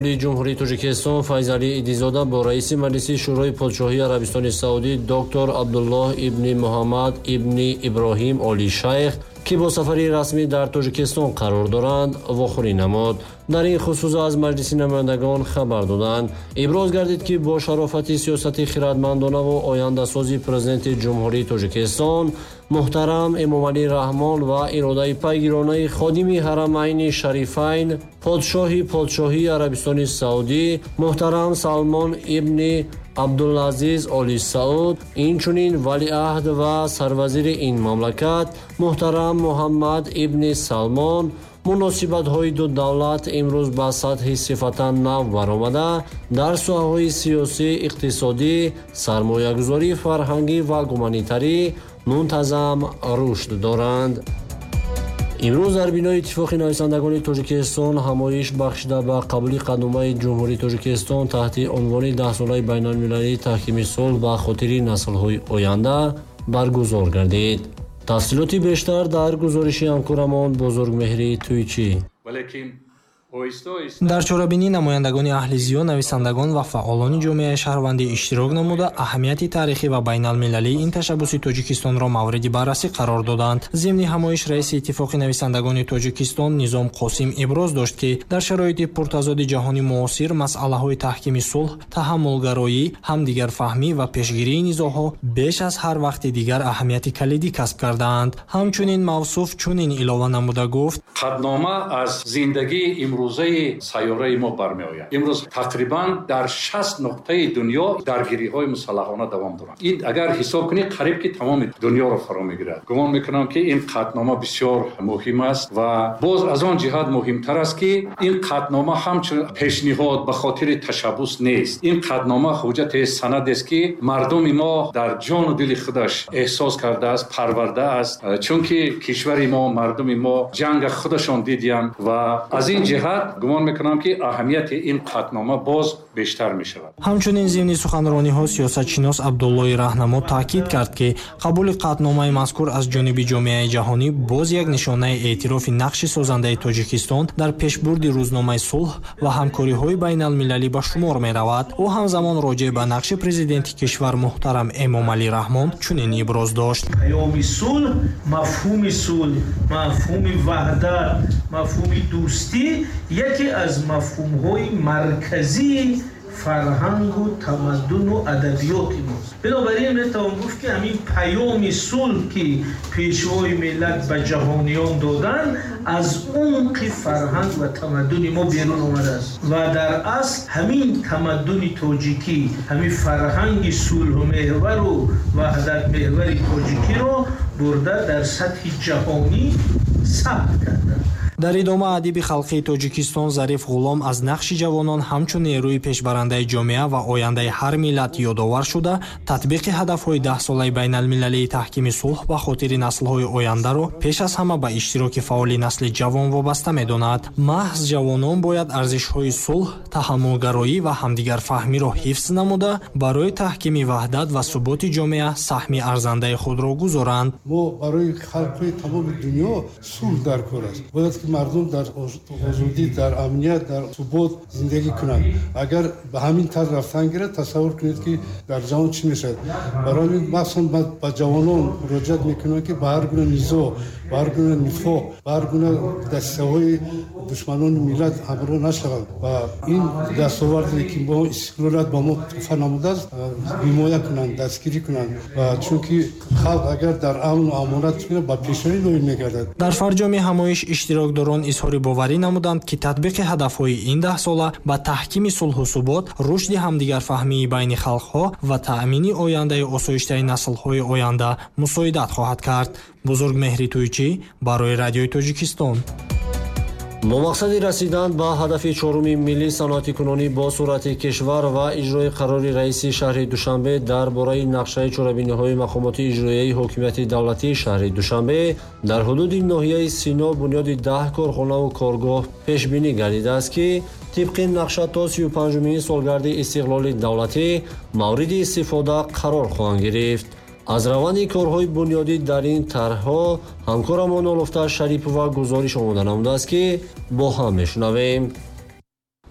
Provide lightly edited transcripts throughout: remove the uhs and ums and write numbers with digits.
Ҷумҳурии Тоҷикистон Файзалӣ Идизода бо раиси Маҷлиси Шӯрои Подшоҳии Арабистони Саудӣ доктор Абдуллоҳ ибни Муҳаммад ибни Иброҳим Оли Шайх, ки бо сафари расмӣ дар Тоҷикистон қарор доранд, вохӯрӣ намуд. Дар ин хусус аз Маҷлиси намояндагон хабар доданд. Иброз гардид, ки бо шарофати сиёсати хирадмандонаву ояндасози Президенти Ҷумҳурии Тоҷикистон муҳтарам Эмомалӣ Раҳмон ва иродаи пайгиронаи ходими Ҳарамайни Шарифайн, подшоҳи Подшоҳии Арабистони Саудӣ муҳтарам Салмон ибни Абдулазиз Оли Сауд, инчунин валиаҳд ва сарвазири ин мамлакат муҳтарам Муҳаммад ибни Салмон, муносибатҳои ду давлат имрӯз ба сатҳи сифатан нав баромада, дар соҳаҳои сиёсӣ, иқтисодӣ, сармоягузорӣ, фарҳангӣ ва гуманитарӣ мунтазам рушд доранд. Имрӯз дар бинои Иттифоқи нависандагони Тоҷикистон ҳамоиш бахшида ба қабули Қатъномаи Ҷумҳурии Тоҷикистон таҳти унвони Даҳсолаи байналмилалии таҳкими сулҳ ба хотири наслҳои оянда баргузор гардид. Тафсилоти бештар дар гузориши ҳамкорамон Бузургмеҳри Тӯйчӣ. Дар чорабинӣ намояндагони аҳли зиё, нависандагон ва фаъолони ҷомеаи шаҳрвандӣ иштирок намуда, аҳамияти таърихӣ ва байналмилалии ин ташаббуси Тоҷикистонро мавриди баррасӣ қарор доданд. Зимни ҳамоиш раиси Иттифоқи нависандагони Тоҷикистон Низом Қосим иброз дошт, ки дар шароити пуртазоди ҷаҳони муосир масъалаҳои таҳкими сулҳ, таҳаммулгароӣ, ҳамдигарфаҳмӣ ва пешгирии низоъҳо беш аз ҳар вақти дигар аҳамияти калидӣ касб кардаанд. Ҳамчунин мавсуф чунин илова намуда гуфт: Қатънома аз зиндагии имрӯзаи сайёраи мо бармеояд. Имрӯз тақрибан дар 60 нуқтаи дунё даргириҳои мусаллаҳона давом доранд. Ин агар ҳисоб кунед, қариб ки тамоми дунёро фаро мегирад. Гумон мекунам, ки ин қатънома бисёр муҳим аст ва боз аз он ҷиҳат муҳимтар аст, ки ин қатънома ҳамчун пешниҳод ба хотири ташаббус нест. Ин қатънома ҳуҷҷате, санадест, ки мардуми мо дар ҷону дили худаш эҳсос кардааст, парвардааст, чунки кишвари мо, мардуми мо ҷанга худашон дидиянд ва аз ин ҷиҳат гумон мекунам, ки аҳамияти ин қатънома боз бештар мешавад. Ҳамчунин зимни суханрониҳо сиёсатшинос Абдуллои Раҳнамо таъкид кард, ки қабули қатъномаи мазкур аз ҷониби ҷомеаи ҷаҳонӣ боз як нишонаи эътирофи нақши созандаи Тоҷикистон дар пешбурди рӯзномаи сулҳ ва ҳамкориҳои байналмилалӣ ба шумор меравад. Ӯ ҳамзамон роҷеъ ба нақши президенти кишвар муҳтарам Эмомалӣ Раҳмон чунин иброз дошт: Паёми сулҳ, мафҳуми сулҳ, мафҳуми ваҳдат, мафҳуми дӯстӣ яке аз мафҳумҳои марказии фарҳангу тамаддуну адабиёти мост. Бинобар ин метавон гуфт, ки ҳамин паёми сулҳ, ки Пешвои миллат ба ҷаҳониён доданд, аз умқи фарҳанг ва тамаддуни мо берун омадааст ва дар асл ҳамин тамаддуни тоҷикӣ, ҳамин фарҳанги сулҳмеҳвару ваҳдатмеҳвари тоҷикиро бурда дар сатҳи ҷаҳонӣ сабт карданд. Дар идома адиби халқии Тоҷикистон Зариф Ғулом аз нақши ҷавонон ҳамчун нерӯи пешбарандаи ҷомеа ва ояндаи ҳар миллат ёдовар шуда, татбиқи ҳадафҳои даҳсолаи байналмилалии таҳкими сулҳ ба хотири наслҳои ояндаро пеш аз ҳама ба иштироки фаъоли насли ҷавон вобаста медонад. Маҳз ҷавонон бояд арзишҳои сулҳ, таҳаммулгароӣ ва ҳамдигарфаҳмиро ҳифз намуда, барои таҳкими ваҳдат ва суботи ҷомеа саҳми арзандаи худро гузоранд. Мо барои халқҳои тамоми дунё сулҳ дар кор аст. Бояд ки мардум дар озодӣ, дар амният, дар субот зиндагӣ кунанд. Агар ба ҳамин тарз рафтан гирад, тасаввур кунед, ки дар ҷаҳон чӣ мешавад. Барои ҳамин махсусан ба ҷавонон муроҷиат мекунам, ки ба ҳар гуна низоъ, ба ҳар гуна нифоқ, ба ҳар гуна дастаҳои душманони миллат ҳамроҳ нашаванд ва ин дастоварде, ки мо истиқлолият ба мо туҳфа намудааст, ҳимоя кунанд, дастгирӣ кунанд ва чунки халқ агар дар амну амонат кунад, ба пешравӣ ноил мегардад. Дар фарҷоми ҳамоиш иштирокдорон изҳори боварӣ намуданд, ки татбиқи ҳадафҳои ин даҳсола ба таҳкими сулҳу субот, рушди ҳамдигарфаҳмии байни халқҳо ва таъмини ояндаи осоиштаи наслҳои оянда мусоидат хоҳад кард. Бузургмеҳри Тӯйчӣ барои Радиои Тоҷикистон. Бо мақсади расидан ба ҳадафи чоруми миллии саноатикунонӣ бо суръати кишвар ва иҷрои қарори раиси шаҳри Душанбе дар бораи нақшаи чорабиниҳои мақомоти иҷроияи ҳокимияти давлатии шаҳри Душанбе дар ҳудуди ноҳияи Сино бунёди 10 корхонаву коргоҳ пешбинӣ гардидааст, ки тибқи нақша то 35-умин солгарди истиқлоли давлатӣ мавриди истифода қарор хоҳанд гирифт. Аз раванди корҳои бунёдӣ дар ин тарҳҳо ҳамкорамон Олуфта Шарипова гузориш омода намудааст, ки бо ҳам мешунавем.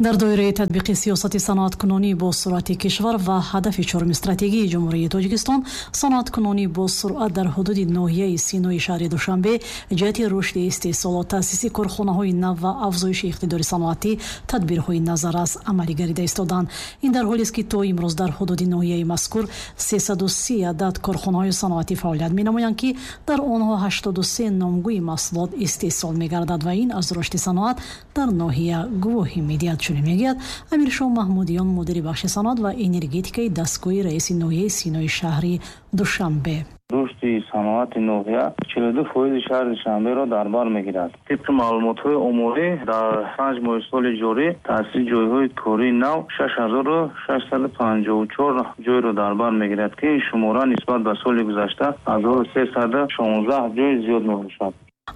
Дар доираи татбиқи сиёсати саноаткунонӣ бо суръати кишвар ва ҳадафи чоруми стратегияи Ҷумҳурии Тоҷикистон, саноаткунонӣ бо суръат дар ҳудуди ноҳияи Синои шаҳри Душанбе ҷиҳати рушди истеҳсолот, таъсиси корхонаҳои нав ва афзоиши иқтидори саноатӣ тадбирҳои назаррас амалӣ гардида истоданд. Ин дар ҳолест, ки то имрӯз дар ҳудуди ноҳияи мазкур 330 адад корхонаҳои саноатӣ фаъолият менамоянд, ки дар онҳо 83 номгӯи маҳсулот истеҳсол мегардад ва ин аз рушди саноат дар ноҳия гувоҳӣ медиҳад. Чунин мегӯяд Амиршоҳ Маҳмудиён, мудири бахши саноат ва энергетикаи дастгоҳи раиси ноҳияи Синои шаҳри Душанбе. Рушди саноати ноҳия 42% шаҳри Душанберо дар бар мегирад. Тибқи маълумотҳои оморӣ, дар 5 моҳи соли ҷорӣ таъсиси ҷойҳои кории нав 6654 ҷойро дар бар мегирад, ки ин шумора нисбат ба соли гузашта 1316 ҷой зиёд мебошад.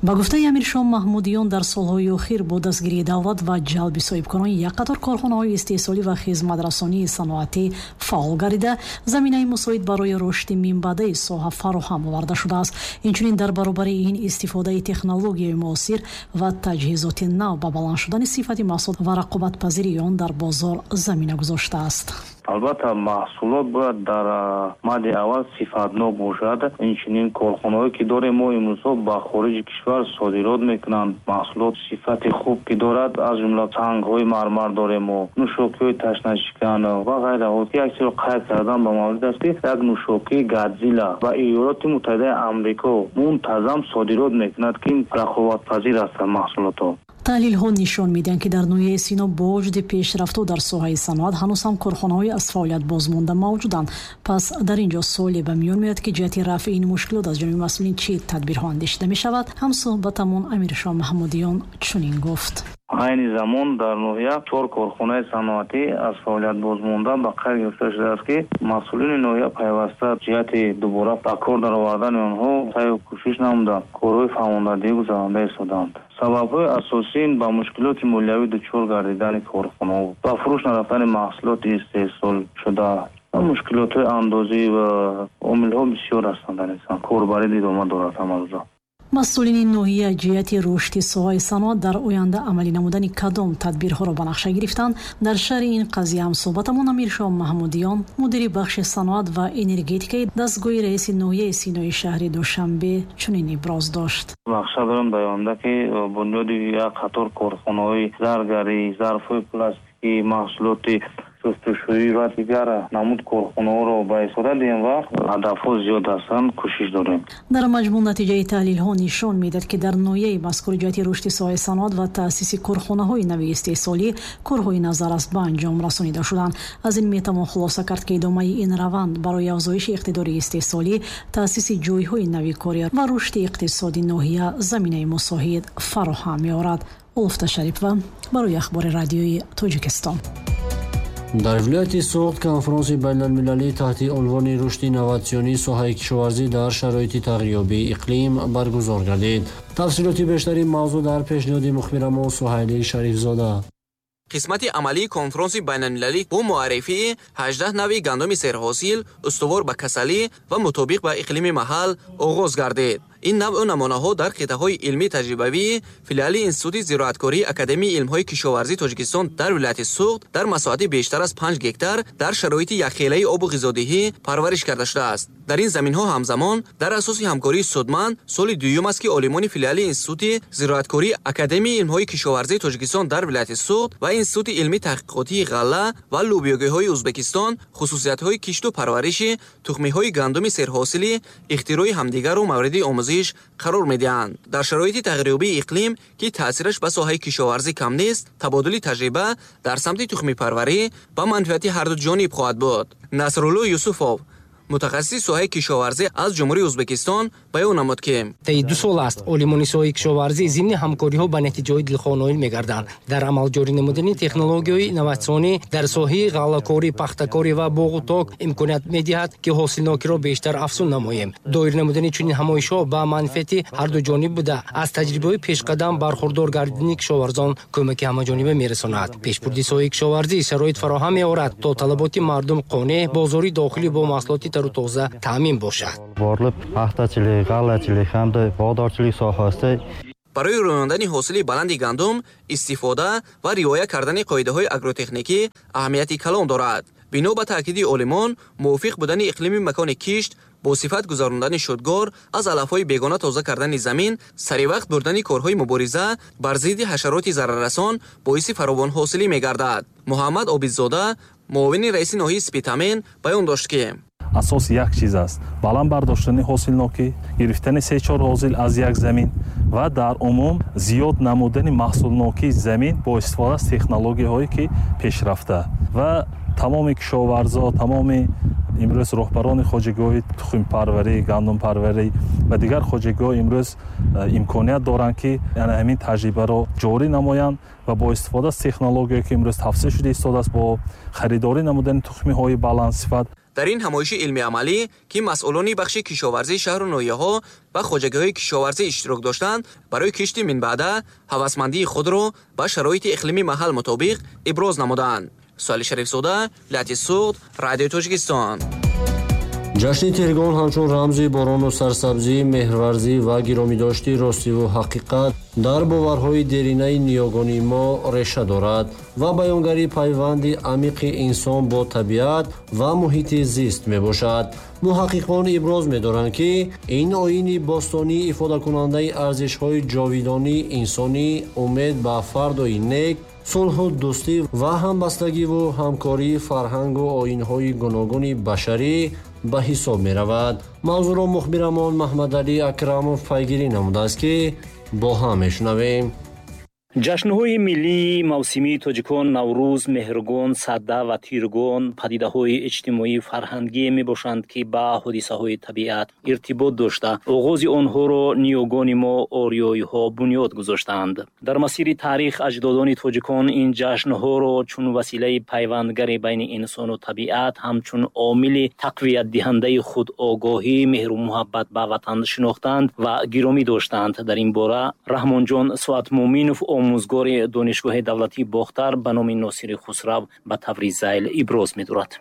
Ба гуфтаи Амиршоҳ Маҳмудиён, дар солҳои охир бо дастгирии давлат ва ҷалби соҳибкорон як қатор корхонаҳои истеҳсолӣ ва хизматрасонии саноатӣ фаъол гардида, заминаи мусоид барои рушди минбаъдаи соҳа фароҳам оварда шудааст. Инчунин дар баробари ин истифодаи технологияи муосир ва таҷҳизоти нав ба баланд шудани сифати маҳсулот ва рақобатпазирии он дар бозор замина гузоштааст. Албатта, маҳсулот бояд дар мадди аввал сифатнок бошад. Инчунин корхонаҳое ки дорем мо имрӯзҳо ба хориҷи кишвар содирот мекунанд. Маҳсулот сифати хуб ки дорад, аз ҷумла сангҳои мармар дорем мо, нӯшокиҳои ташнашикан ва ғайра. Як чизро қайд кардан ба маврид аст, ки як нӯшокии Гадзила ба Иёлоти Муттаҳидаи Амрико мунтазам содирот мекунад, ки рақобатпазир ҳастанд маҳсулотҳо. Таҳлилҳо нишон медиҳанд, ки дар ноҳияи Сино бо вуҷуди пешрафтҳо дар соҳаи саноат ҳанӯз ҳам корхонаҳои аз фаъолият бозмонда мавҷуданд. Пас дар ин ҷо суоле ба миён меояд, ки ҷиҳати рафъи ин мушкилот аз ҷониби масъулин чӣ тадбирҳо андешида мешавад? Ҳамсӯҳбатамон Амиршоҳ Маҳмудиён чунин гуфт. Айни замон дар ноҳия 4 корхонаи саноатӣ аз фаъолият бозмонда ба қайд гирифта шудааст, ки масъулини ноҳия пайваста ҷиҳати дубора ба кор даровардани онҳо саъю кӯшиш намуда, корҳои фаҳмондадиҳӣ гузаронда истодаанд. Сабабҳои асосии ин ба мушкилоти молиявӣ дучор гардидани корхонаҳо, ба фурӯш нарафтани маҳсулоти истеҳсолшуда ва мушкилотҳои андозӣ ва омилҳо бисёр ҳастанд. Дар инсон корбарӣ идома дорад ҳамарӯза. Масъулини ноҳия ҷиҳати рушди соҳаи саноат дар оянда амалӣ намудани кадом тадбирҳоро ба нақша гирифтанд? Дар шарҳи ин қазия ҳамсӯҳбатамон Амиршоҳ Маҳмудиён, мудири бахши саноат ва энергетикаи дастгоҳи раиси ноҳияи Синои шаҳри Душанбе чунин иброз дошт. Нақша дорем дар оянда, ки бунёди як қатор корхонаҳои заргарӣ, зарфҳои пластикӣ, маҳсулоти шустушӯӣ ва дигар намуд корхонаҳоро ба истифода диҳем ва ҳадафҳо зиёд ҳастанд, кӯшиш дорем. Дар маҷмӯъ натиҷаи таҳлилҳо нишон медиҳад, ки дар ноҳияи мазкур ҷиҳати рушди соҳаи саноат ва таъсиси корхонаҳои нави истеҳсолӣ корҳои назаррас ба анҷом расонида шуданд. Аз ин метавон хулоса кард, ки идомаи ин раванд барои афзоиши иқтидори истеҳсолӣ, таъсиси ҷойҳои нави корӣ ва рушди иқтисоди ноҳия заминаи мусоид фароҳам меорад. Улуфта Шарипова барои Ахбори радиои Тоҷикистон. Дар вилояти Суғд конфронси байналмилалӣ таҳти унвони рушди инноватсионии соҳаи кишоварзӣ дар шароити тағйирёбии иқлим баргузор гардид. Тафсилоти бештари мавзӯъ дар пешниҳоди мухбирамо Суҳайли Шарифзода. Қисмати амалии конфронси байналмилалӣ бо муаррифии 18 навъи гандуми серҳосил, устувор ба касалӣ ва мутобиқ ба иқлими маҳал оғоз гардид. Ин навъу намунаҳо дар қитъаҳои илмӣ таҷрибавии филиали Институти зироаткории Академияи илмҳои кишоварзии Тоҷикистон дар вилояти Суғд дар масоҳати бештар аз 5 гектар дар шароити якхелаи обу ғизодиҳӣ парвариш карда шудааст. Дар ин заминҳо ҳамзамон дар асоси ҳамкории судманд соли дуюм аст, ки олимони филиали Институти зироаткории Академияи илмҳои кишоварзии Тоҷикистон дар вилояти Суғд ва Институти илмӣ таҳқиқотии ғалла ва лӯбиёгиҳои Ӯзбекистон хусусиятҳои кишту парвариши тухмиҳои гандуми серҳосили ихтирои ҳамдигарро мавриди омӯзиш қарор медиҳанд. Дар шароити тағйирёбии иқлим, ки таъсираш ба соҳаи кишоварзӣ кам нест, табодули таҷриба дар самти тухмипарварӣ ба манфиати ҳарду ҷониб хоҳад буд. Насрулло Юсуфов, мутахассиси соҳаи кишоварзӣ аз Ҷумҳурии Ӯзбекистон, баён намуд, ки таи 2 сол аст олимони соҳаи кишоварзӣ зимни ҳамкориҳо ба натиҷаҳои дилхоҳ ноил мегарданд. Дар амал ҷорӣ намудани технологияҳои инноватсионӣ дар соҳаи ғаллакорӣ, пахтакорӣ ва боғу ток имконият медиҳад, ки ҳосилнокиро бештар афзун намоем. Доир намудани чунин ҳамоишҳо ба манфиати ҳарду ҷониб буда, аз таҷрибаҳои пешқадам бархурдор гардидани кишоварзон кӯмаки ҳамаҷониба мерасонад. Пешбурди соҳаи кишоварзӣ шароит фароҳам меорад, то талаботи мардум қонеъ, бозори дохилӣ бо маҳсулоти тару тоза таъмин бошад. Borlib paxtachilik, g'allachilik hamda bog'dorchilik sohasida. Барои рӯёндани ҳосили баланди гандум, истифода ва риоя кардани қоидаҳои агротехникӣ аҳамияти калон дорад. Бино ба таъкиди олимон, мувофиқ будани иқлими макони кишт, бо сифат гузарондани шудгор, аз алафҳои бегона тоза кардани замин, саривақт бурдани корҳои мубориза бар зидди ҳашароти зараррасон боиси фаровонҳосилӣ мегардад. Муҳаммад Обидзода, муовини раиси ноҳияи Спитамен, баён дошт, ки асос як чиз аст: баланд бардоштани ҳосилнокӣ, гирифтани се-чор ҳосил аз як замин ва дар умум зиёд намудани маҳсулнокии замин бо истифода аз технологияҳое ки пешрафта. Ва тамоми кишоварзо, тамоми имрӯз роҳбарони хоҷагиҳои тухмпарварӣ, гандумпарварӣ ва дигар хоҷагиҳо имрӯз имконият доранд, ки ҳамин таҷрибаро ҷорӣ намоянд ва бо истифода аз технология, ки имрӯз тавсия шуда истодааст, бо харидорӣ намудани тухмиҳои баландсифат. Дар ин ҳамоиши илмиамалӣ, ки масъулони бахши кишоварзии шаҳру ноҳияҳо ва хоҷагиҳои кишоварзӣ иштирок доштанд, барои кишти минбаъда ҳавасмандии худро ба шароити иқлими маҳал мутобиқ иброз намуданд. Суҳайли Шарифзода, вилояти Суғд, Радиои Тоҷикистон. Ҷашни Тиргон ҳамчун рамзи борону сарсабзӣ, меҳрварзӣ ва гиромидошти ростиву ҳақиқат дар боварҳои деринаи ниёгони мо реша дорад ва баёнгари пайванди амиқи инсон бо табиат ва муҳити зист мебошад. Муҳаққиқон иброз медоранд, ки ин оини бостонӣ ифодакунандаи арзишҳои ҷовидонии инсонӣ, умед ба фардои нек, сулҳу дӯстӣ ва ҳамбастагиву ҳамкории фарҳангу оинҳои гуногуни башарӣ ба ҳисоб меравад. Мавзӯъро мухбирамон Маҳмадалӣ Акрамов пайгирӣ намудааст, ки бо ҳам мешунавем. Ҷашнҳои миллии мавсимии тоҷикон Наврӯз, Меҳргон, Сада ва Тиргон падидаҳои иҷтимоӣ фарҳангие мебошанд, ки ба ҳодисаҳои табиат иртибот дошта, оғози онҳоро ниёгони мо ориёиҳо бунёд гузоштаанд. Дар масири таърих аҷдодони тоҷикон ин ҷашнҳоро чун василаи пайвандгари байни инсону табиат, ҳамчун омили тақвиятдиҳандаи худогоҳӣ, меҳру муҳаббат ба ватан шинохтанд ва гиромӣ доштанд. Дар ин бора Раҳмонҷон Соатмуминов, омӯзгори Донишгоҳи давлатии Бохтар ба номи Носири Хусрав, ба таври зайл иброз медорад.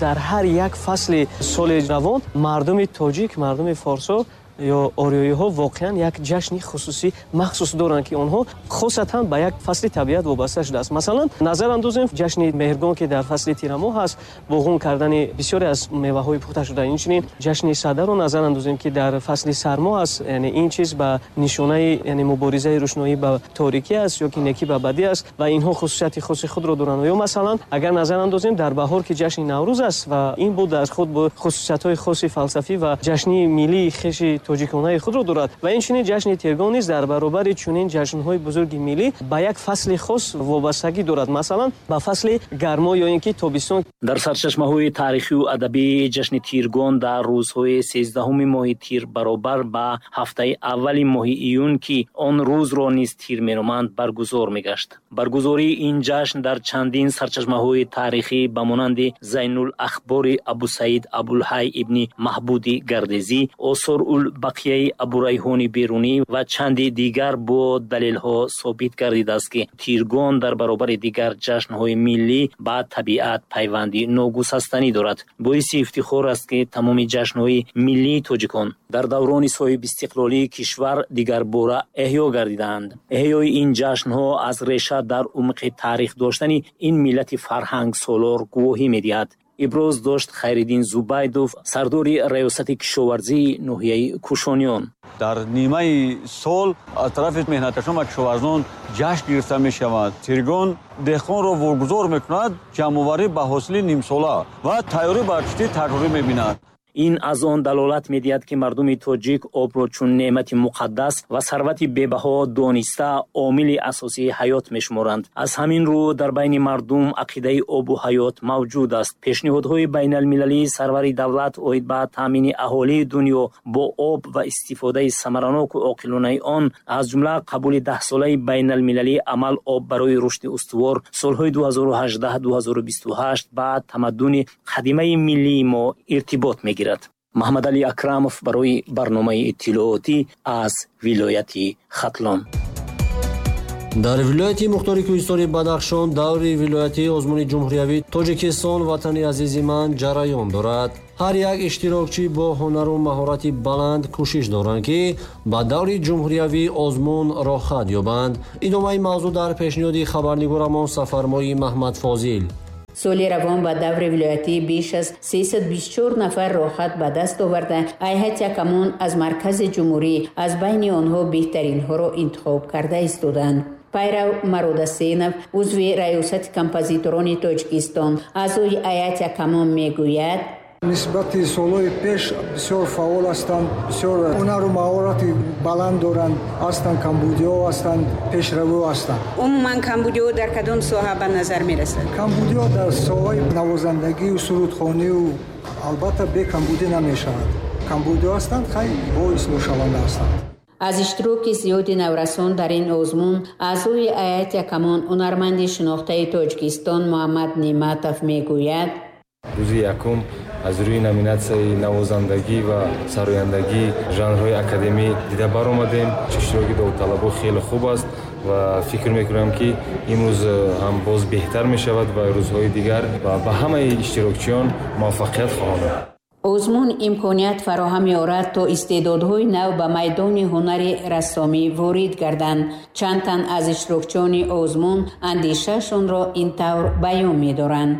Дар ҳар як фасли соли равон мардуми тоҷик, мардуми форсо ё ориёиҳо воқеан як ҷашни хусусӣ махсус доранд, ки онҳо хосатан ба як фасли табиат вобаста шудааст. Масалан, назар андозем ҷашни Меҳргон, ки дар фасли тирамоҳ аст, боғун кардани бисёре аз меваҳои пухта шуда. Инчунин ҷашни Садаро назар андозем, ки дар фасли сармо аст, яъне ин чиз ба нишонаи, яъне муборизаи рӯшноӣ ба торикӣ аст ё ки некӣ ба бадӣ аст ва инҳо хусусияти хоси худро доранд. Ё масалан, агар назар андозем дар баҳор, ки ҷашни Наврӯз аст ва ин буд дар худ бо хусусиятҳои хоси фалсафӣ ва ҷашни миллии хеши тоҷиконаи худро дорад. Ва инчунин ҷашни Тиргон низ дар баробари чунин ҷашнҳои бузурги миллӣ ба як фасли хос вобастагӣ дорад, масалан ба фасли гармо ё ин ки тобистон. Дар сарчашмаҳои таърихию адабӣ ҷашни Тиргон дар рӯзҳои 13-уми моҳи тир баробар ба ҳафтаи аввали моҳи июн, ки он рӯзро низ тир меноманд, баргузор мегашт. Баргузории ин ҷашн дар чандин сарчашмаҳои таърихӣ ба монанди Зайнул Ахбори Абусаид Абулҳай ибни Маҳбуди Гардезӣ, Осор ул Бақияи Абурайҳони Берунӣ ва чанди дигар бо далелҳо собит гардидааст, ки Тиргон дар баробари дигар ҷашнҳои миллӣ ба табиат пайванди ногусастанӣ дорад. Боиси ифтихор аст, ки тамоми ҷашнҳои миллии тоҷикон дар даврони соҳибистиқлолии кишвар дигарбора эҳё гардидаанд. Эҳёи ин ҷашнҳо аз реша дар умқи таърих доштани ин миллати фарҳангсолор гувоҳӣ медиҳад, иброз дошт Хайриддин Зубайдов, сардори раёсати кишоварзии ноҳияи Кушониён. Дар нимаи сол аз тарафи меҳнаткашон ва кишоварзон ҷашн гирифта мешавад. Тиргон деҳқонро вогузор мекунад ҷамъоварӣ ба ҳосили нимсола ва тайёрӣ ба кишти такрорӣ мебинад. Ин аз он далолат медиҳад, ки мардуми тоҷик обро чун неъмати муқаддас ва сарвати бебаҳо дониста, омили асосии ҳаёт мешуморанд. Аз ҳамин рӯ дар байни мардум ақидаи обу ҳаёт мавҷуд аст. Пешниҳодҳои байналмилалии сарвари давлат оид ба таъмини аҳолии дунё бо об ва истифодаи самараноку оқилонаи он, аз ҷумла қабули даҳсолаи байналмилалии амал «Об барои рушди устувор» солҳои 2018-2028 ба тамаддуни қадимаи миллии мо иртибот мегирад. Маҳмадалӣ Акрамов барои барномаи иттилоотӣ аз вилояти Хатлон. Дар вилояти мухтори кӯҳистони Бадахшон даври вилоятии озмуни ҷумҳуриявии Тоҷикистон «Ватани азизи ман» ҷараён дорад. Ҳар як иштирокчӣ бо ҳунару маҳорати баланд кӯшиш доранд, ки ба даври ҷумҳуриявии озмун роҳхат ёбанд. Идомаи мавзӯъ дар пешниҳоди хабарнигорамон Сафармои Маҳмадфозил. Соли равон ба даври вилоятӣ беш аз 324 нафар роҳхат ба даст оварда, ҳайати ҳакамон аз маркази ҷумҳурӣ аз байни онҳо беҳтаринҳоро интихоб карда истоданд. Пайрав Мародасенов, узви раёсати композиторони Тоҷикистон, аъзои ҳайати ҳакамон мегӯяд: Нисбати солҳои пеш бисёр фаъол ҳастанд, бисёр ҳунару маҳорати баланд доранд, ҳастанд камбудиҳо, ҳастанд пешравиҳо ҳастанд. Умуман камбудиҳо дар кадом соҳа ба назар мерасад? Камбудиҳо дар соҳаи навозандагию сурудхонию албатта бе камбудӣ намешавад. Камбудиҳо ҳастанд, хай боис мушаванда ҳастанд. Аз иштироки зиёди наврасон дар ин озмун аъзои ҳайати ҳакамон, ҳунарманди шинохтаи Тоҷикистон Муҳаммад Неъматов мегӯяд: Рӯзи якум аз рӯи номинатсияи навозандагӣ ва сарояндагӣ жанрҳои академӣ дида баромадем. Иштироки довталабо хеле хуб аст ва фикр мекунам, ки имрӯз ҳам боз беҳтар мешавад ва рӯзҳои дигар, ва ба ҳамаи иштирокчиён муваффақият хоҳонам. Озмун имконият фароҳам меорад, то истеъдодҳои нав ба майдони ҳунари рассомӣ ворид гарданд. Чанд тан аз иштирокчиёни озмун андешаашонро ин тавр баён медоранд: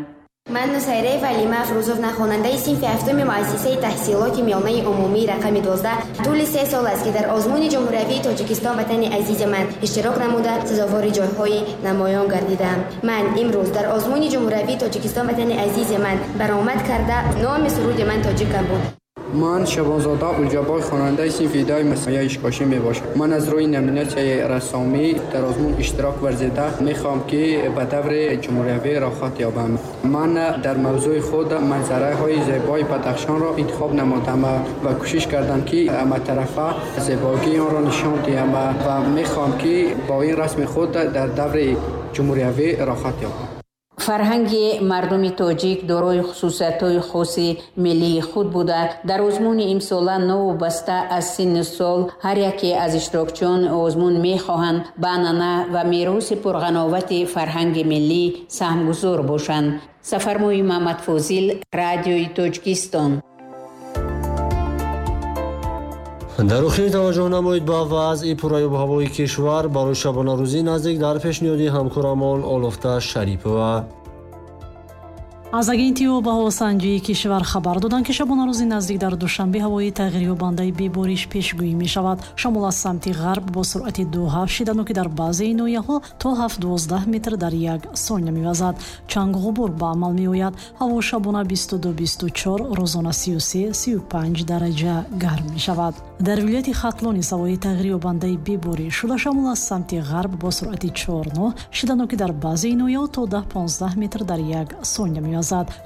Ман Нусайраи Валима Афрӯзовна, хонандаи синфи ҳафтуми муассисаи таҳсилоти миёнаи умумии рақами 12, тӯли 3 сол аст, ки дар озмуни ҷумҳуриявии Тоҷикистон «Ватани азизи ман» иштирок намуда, сазовори ҷойҳои намоён гардидаам. Ман имрӯз дар озмуни ҷумҳуриявии Тоҷикистон «Ватани азизи ман» баромад карда, номи суруди ман «Тоҷикам» буд. Ман Шабонзода Улҷабой, хонандаи синфи 10 муассисаи Ишкошӣ мебошам. Ман аз рӯи номинатсияи рассомӣ дар озмун иштирок варзида, мехоҳам, ки ба даври ҷумҳуриявӣ роҳхат ёбам. Ман дар мавзӯи худ манзараҳои зебои Бадахшонро интихоб намудам ва кӯшиш кардам, ки ҳаматарафа зебогии онро нишон диҳам, ва мехоҳам, ки бо ин расми худ дар даври ҷумҳуриявӣ роҳхат ёбам. Фарҳанги мардуми тоҷик дорои хусусиятҳои хоси миллии худ буда, дар озмуни имсола новобаста аз синну сол ҳар яке аз иштирокчиёни озмун мехоҳанд ба анъана ва мероси пурғановати фарҳанги миллӣ саҳмгузор бошанд. Сафармои Маҳмадфозил, Радиои Тоҷикистон. Дар охир таваҷҷӯҳ намоед ба вазъи пурраёбҳавои кишвар барои шабонарӯзии наздик дар пешниҳоди ҳамкорамон Олуфта Шарипова. Аз агентии обҳавосанҷии кишвар хабар доданд, ки шабонарӯзи наздик дар Душанбе ҳавои тағйирёбандаи бебориш пешгӯӣ мешавад. Шамол аз самти ғарб бо суръати 2,7, шидданоки дар баъзеи ноҳияҳо то 7,12 метр дар як сония мевазад. Чангу ғубор ба амал меояд. Ҳаво шабона 22-24, рӯзона 33-35 дараҷа гарм мешавад. Дар вилояти Хатлон низ ҳавои тағйирёбандаи бебориш шуда, шамол аз самти ғарб бо суръати 4,9, шидданоки дар баъзеи ноҳияҳо то 10-15 метр дар як сония мевазад.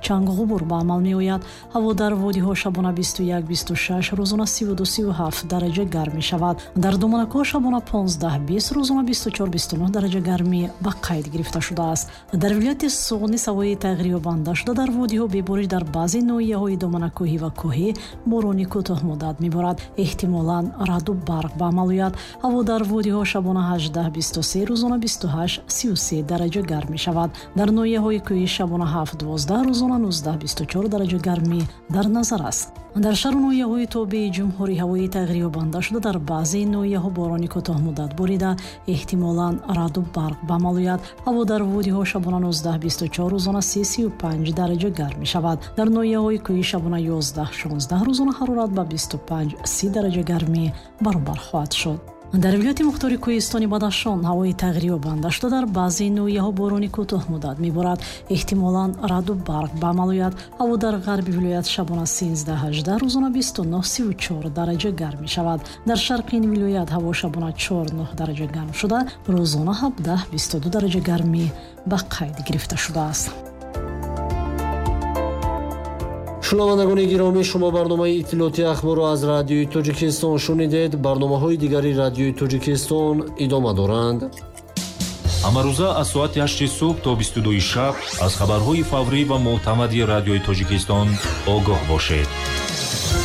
Чангу ғубор ба амал меояд. Ҳаво дар водиҳо шабона 21-26, рӯзона 32-37 дараҷа гарм мешавад. Дар доманакҳо шабона 15-20, рӯзона 24-29 дараҷа гармӣ ба қайд гирифта шудааст. Дар вилояти Суғд низ ҳавои тағйирёбанда шуда, дар водиҳо бебориш, дар баъзе ноҳияҳои доманакӯҳӣ ва кӯҳӣ борони кӯтоҳмуддат меборад, эҳтимолан раъду барқ ба амал ояд. Ҳаво дар водиҳо шабона 18-23, рӯзона 28-33 дараҷа гарм мешавад. Дар ноҳияҳои кӯҳӣ шабона 7-12, рӯзона 19-24 дараҷа гармӣ дар назар аст. Дар шаҳру ноҳияҳои тобеи ҷумҳурӣ ҳавои тағйирёбанда шуда, дар баъзе ноҳияҳо борони кӯтоҳмуддат борида, эҳтимолан раъду барқ ба амал ояд. Ҳаво дар водиҳо шабона 19-24, рӯзона 30-35 дараҷа гарм мешавад. Дар ноҳияҳои кӯҳӣ шабона 11-16, рӯзона ҳарорат ба 25-30 дараҷа гармӣ баробар хоҳад шуд. Дар вилояти мухтори кӯҳистони Бадахшон ҳавои тағйирёбанда шуда, дар баъзе ноҳияҳо борони кӯтоҳмуддат меборад, эҳтимолан раъду барқ ба амал ояд. Ҳаво дар ғарби вилоят шабона 13-18, рӯзона 29-34 дараҷа гарм мешавад. Дар шарқи ин вилоят ҳаво шабона 4-9 дараҷа гарм шуда, рӯзона 17-22 дараҷа гармӣ ба қайд гирифта шудааст. Шунавандагони гиромӣ, шумо барномаи иттилоотии ахборро аз Радиои Тоҷикистон шунидед. Барномаҳои дигари Радиои Тоҷикистон идома доранд. Ҳамарӯза аз соати 8 субҳ то 22 шаб аз хабарҳои фаврӣ ва мӯътамади Радиои Тоҷикистон огоҳ бошед.